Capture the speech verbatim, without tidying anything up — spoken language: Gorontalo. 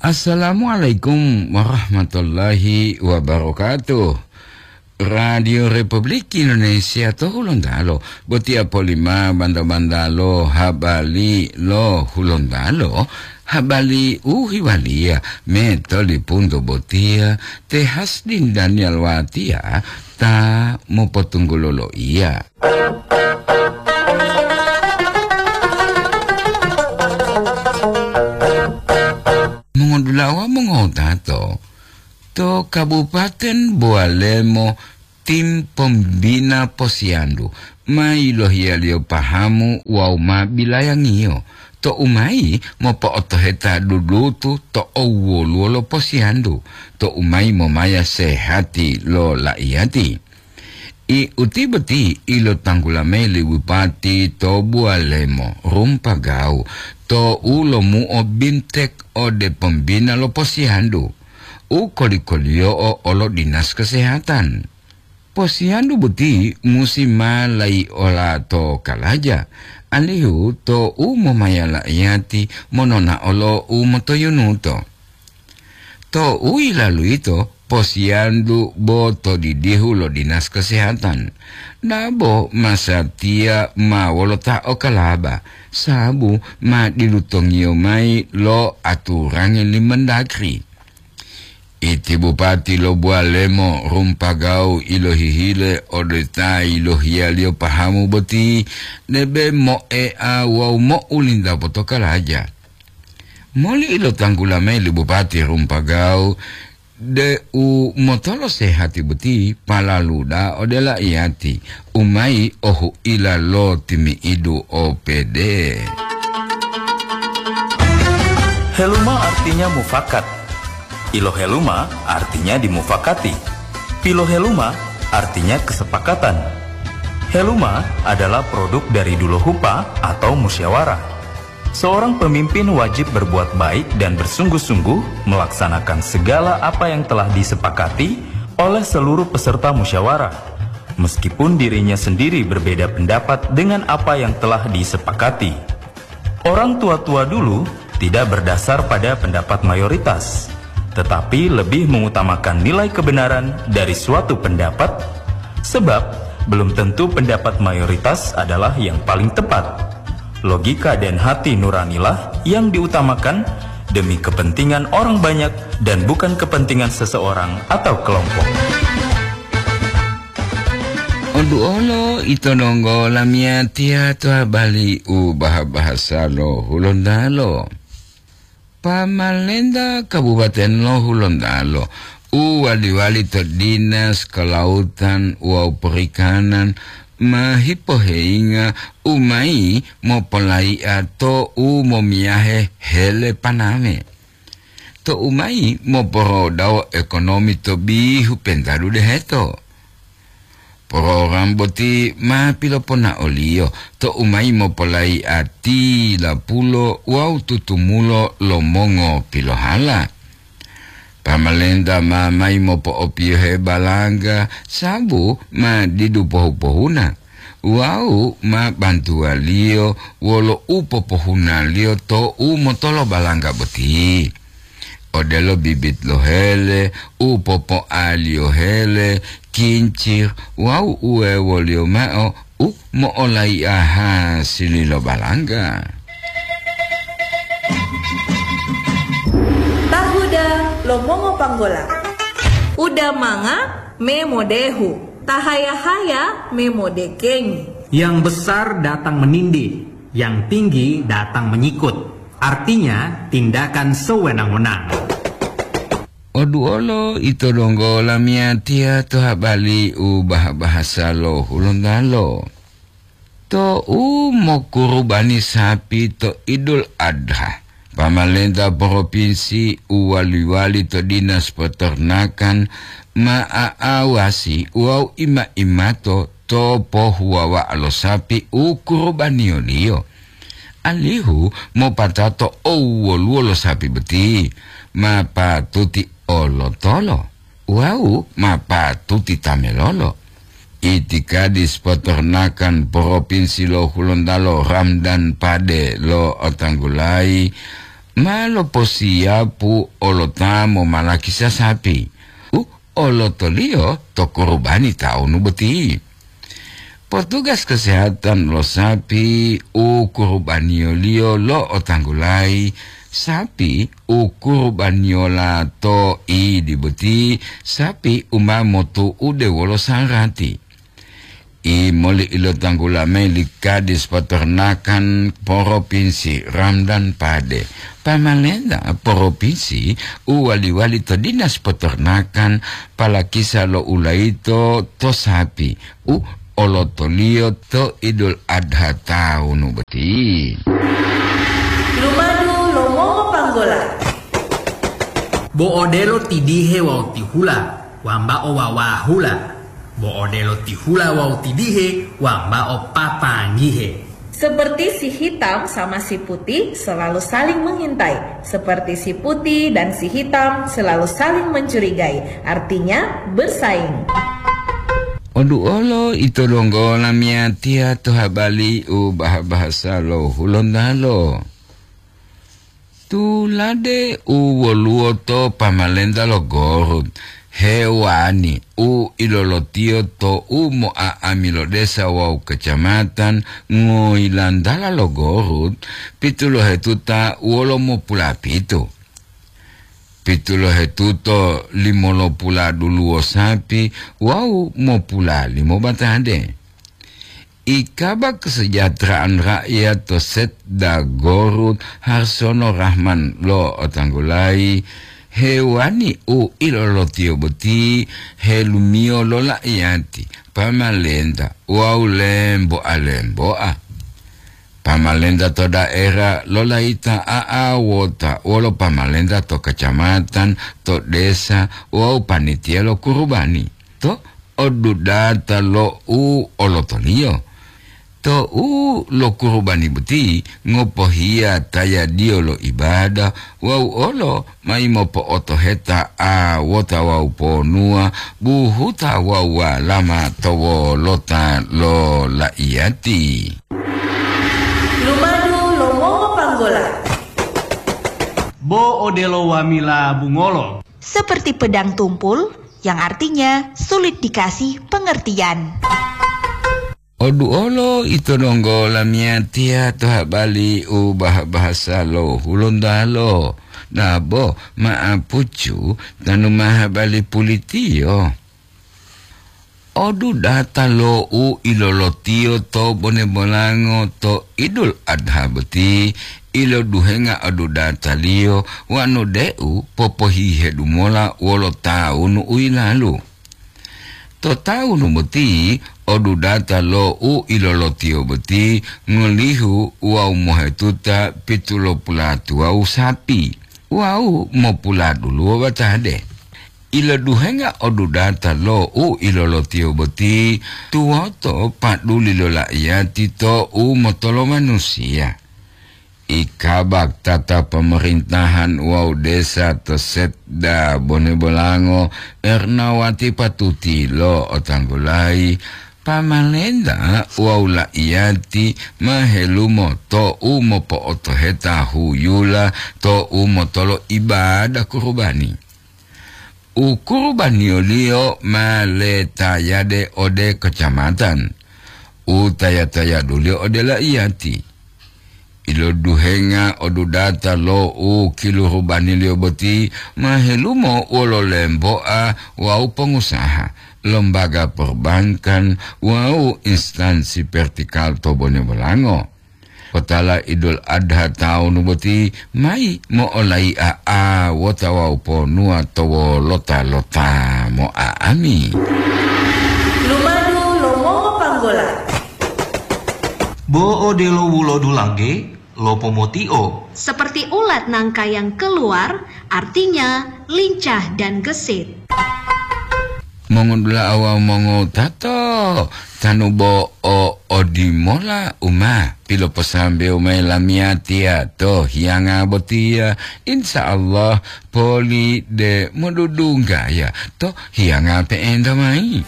Assalamualaikum warahmatullahi wabarakatuh. Radio Republik Indonesia to Hulontalo, botiya polima banda-bandalo habali lo Hulontalo, habali u hiwaliya me tolipunto botiya te Hasdin Daniel Watiya ta mopotunggulo loiya. Mongodulawa mongotato, to Kabupaten Bowalemo, tim pombina posiyandu ma yilohiyaliyo pahamu wawu ma bilayangiyo, to umayi mopo'otoheta dudutu to owwoluwo lo posiyandu, to umayi momaya sehati lo laiyati. I uti boti ilotanggula mayi li bupati to Buwalemo, Rumpagawu, to u lomuo bintek ode pombina lo posiyandu, u koli-koliyo'o olo dinas kesehatan. Posiyandu boti musi ma layi ola to kalaja, alihu to u momaya la'iyati monona'o lo u motoyunuto. To u yilalu yito, posiyandu bo to didihu lo dinas kesehatan. Dabo masatiya ma wolo ta okalaba, sabu ma dilutongiyo mayi lo aturangi li Mendagri. Iti bupati lo Buwalemo, Rumpagawu, ilohihile ode ta yilohiyaliyo pahamu boti, debe moea wawu mo'ulinta potokalaja. Moli ilotanggula mayi li Bupati Rumpagawu deu motolo sehati boti palaluda ode laiyati, umayi ohuila lo timi'idu O P D. Heluma artinya mufakat. Iloheluma artinya dimufakati. Piloheluma artinya kesepakatan. Heluma adalah produk dari duluhupa atau musyawarah. Seorang pemimpin wajib berbuat baik dan bersungguh-sungguh melaksanakan segala apa yang telah disepakati oleh seluruh peserta musyawarah, meskipun dirinya sendiri berbeda pendapat dengan apa yang telah disepakati. Orang tua-tua dulu tidak berdasar pada pendapat mayoritas, tetapi lebih mengutamakan nilai kebenaran dari suatu pendapat, sebab belum tentu pendapat mayoritas adalah yang paling tepat. Logika dan hati nuranilah yang diutamakan demi kepentingan orang banyak dan bukan kepentingan seseorang atau kelompok. Oduolo ito donggo lamiyatiya to habari u baha-bahasa lo Hulontalo. Pamalenta Kabupaten lo Hulontalo u wali-wali to Dinas Kelautan wawu Perikanan ma hipoheyinga u mayi mopolayi'a to u momiyahe hele paname, to u mayi moporodawo ekonomi to bihu pentadu deheto. Program boti ma piloponaoliyo to u mayi mopolayi'a tilapulo wawu tutumulo lo mongo pilohala. Pamalenta ma mayi mopo'opiyohe balangga sabu ma didu pohu-pohuna wawu ma bantuwaliyo wolo u popohunaliyo to u motolo balangga boti. Odelo bibit lo hele, u popoaliyo hele, kincir, wawu uwewoliyo mao u mo'olayi'a hasili lo balangga. Tahuda lo mongopanggola. Uda manga me modehu, tahaya-haya me modekengi. Yang besar datang menindih, yang tinggi datang menyikut. Artinya, tindakan sewenang-wenang. Oduolo ito donggo lamiyatiya to habari u baha-bahasa lo Hulontalo. To u mokurubani sapi to Idul Adha, pamalenta propinsi u wali-wali to Dinas Peternakan ma aawasi wawu ima-imato to pohuwawa'a lo sapi u kurubaniyoliyo, alihu mopatato owwoluwo lo sapi boti ma patuti olotolo wawu ma patuti tamelolo. Itikadis Peternakan Propinsi lo Hulontalo Ramdan Pade lo'otanggulayi, ma loposiyapu olota momalakisa sapi u olotoliyo to kurubani tawunu boti. Potugas kesehatan lo sapi u kurubaniyoliyo lo'otanggulayi, sapi u kurubaniyola to idi boti, sapi u ma motu'ude wolo sarati. I moli ilotanggula mayi li Kadis Peternakan Propinsi Ramdan Pade. Pamalenta propinsi u wali-wali to Dinas Peternakan palakisa lo ulayito to sapi u olotoliyo to Idul Adha tawunu boti. Lumadu lo mongopanggola. Bo odelo tidihe wawu tihula, wambao wawahula. Bo odelo tihula wawu tidihe, wambao papanggihe. Seperti si hitam sama si putih selalu saling mengintai, seperti si putih dan si hitam selalu saling mencurigai, artinya bersaing. Oduolo ito donggo lamiyatiya to habali u bahasa-bahasa lo Hulontalo. Tulade u woluwo to pamalenta lo Gorut, hewani u ilolotiyo to u mo'a'ami lo desa wawu kacamatan ngoyilantala lo Gorut, pitulohetuta wolo mopulapitu. Pitulohetuto limolopula duluwo sapi wawu mopula limo batade. Ikaba kesejahteraan rakyat to Setda Gorut Harsono Rahman lo'otanggulayi, hewani u ilolotiyo boti helumiyo lo la'iyati, pamalenta wawu lemboa-lemboa. Pamalenta to daera lolayita a'awota wolo pamalenta to kacamatan, to desa wawu panitiya lo kurubani to odudata lo u olotoliyo. To u lo kurubani boti ngopohiya tayadiyo lo ibada wawu olo mayi mopo'otoheta awota wawu ponuwa buhuta wawu walama to wolota lo laiyati. Lumadu lo mongopanggola. Bo odelo wamila bungolo. Seperti pedang tumpul, yang artinya sulit dikasih pengertian. Oduolo ito donggo lamiyatiya to habali u bah-, bahasa lo Hulontalo, nabo ma'apucu tanu ma habali pulitiyo. Odudata lo u ilolotiyo to bone bolango to Idul Adha boti, iloduhenga odudataliyo wanu deu popohihedu mola wolo tawunu u yilalu. To tawunu boti, odudata lo u ilolotiyo boti ngolihu wawu mohetuta pitulopulatuwawu sapi wawu mopuladuluwo batade. Iloduhenga odudata lo u ilolotiyo boti tuwoto paduli lo laiyati to u motolo manusiya. Ikabak tata pemerintahan wawu desa to Setda Bone Bolango, Ernawati Patuti lo'otanggulayi, pamalenta wawu laiyati ma helumo to u mopo'otoheta huyula to u motolo ibada kurubani. U kurubaniyoliyo ma letayade ode kacamatan, u taya-tayaduliyo ode laiyati. Iloduhenga odudata lo u kilurubaniliyo boti ma helumo wolo lemboa wawu pongusaha, lombaga perbankan wawu instansi vertikal to Bone Bolango. Potala Idul Adha tawunu boti mayi mo'olai'a awota wawu ponuwa to wolota-lota mo'a'ami. Lumadu lo mongopanggola. Bo odelo wulodu langge, lopomotio. Seperti ulat nangka yang keluar, artinya lincah dan gesit. Mongodula'a wawu mongowutato, tanu bo o odimola u ma piloposambewu mayi lamiyatiya to hiyanga botiya, insya Allah poli de modudunggaya to hiyanga pe'enta mayi.